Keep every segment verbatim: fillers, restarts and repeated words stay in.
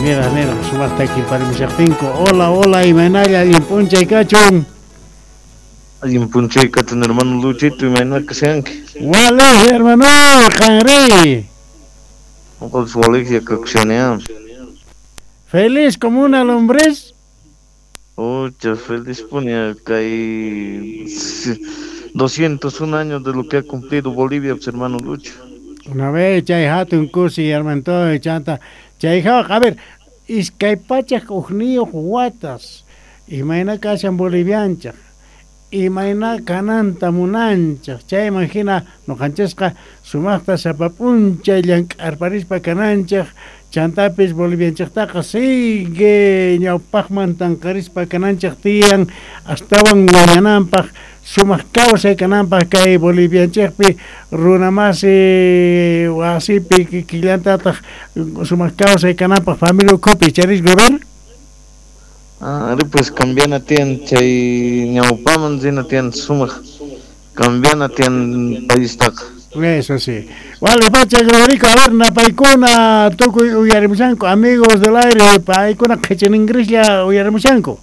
Niraj niraj sumaqta kimparimushaqtinku. Hola, hola, imaynalla allin p'unchay kachun. Allin p'unchay kachun, hermano Luchito, imayna kashanki? Walej, hermano, qanri. Noqapis walejlla kakushani. Feliz como una lombriz. Ocha, feliz puni kay doscientos un años de lo que ha cumplido Bolivia, pues, hermano Lucho. Una vez chay hatun kusi hermano chanta chay a ver, iskay pachak ujniyuq watas imayna kashan bolivianchaq imayna kananta munanchaq chayman hina nuqanchisqa sumaqta sapa p'unchay llank'arparispa kananchaq chantapis bolivianchaqtaqa sigue ñawpaqman tanqarispa kananchaq tiyan astawan wiñananpaq sumaq kawsay kananpaq kay bolivianchaqpi runamasi wasipi kikillantataq sumaq kawsay kananpaq familia ukhupi charis gober. Ah, pues cambiana tiyan chay ñawpaman rina tiyan sumaq cambiana tiyan paistaqa. Eso sí. Vale, pacha, Gregorico, a ver, napaykuna tukuy uyarimushanku, amigos del aire, paykuna qhichin ingrislla uyarimushanku.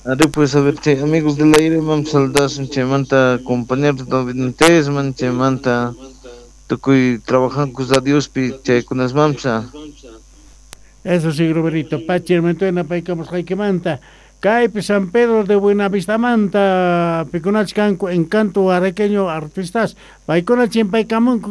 Ari pues a ver, chay amigos del aire, vamos a saludar chaymanta compañeros David chaymanta tukuy trabajanku a Diospi chaykunas mamsa. Eso sí, Roberito, pachi, hermano, napaykamusqaykimanta. Kaypi San Pedro de Buenavistamanta, pikunach kanku encanto araqueño artistas, paykuna chimpaykamunku.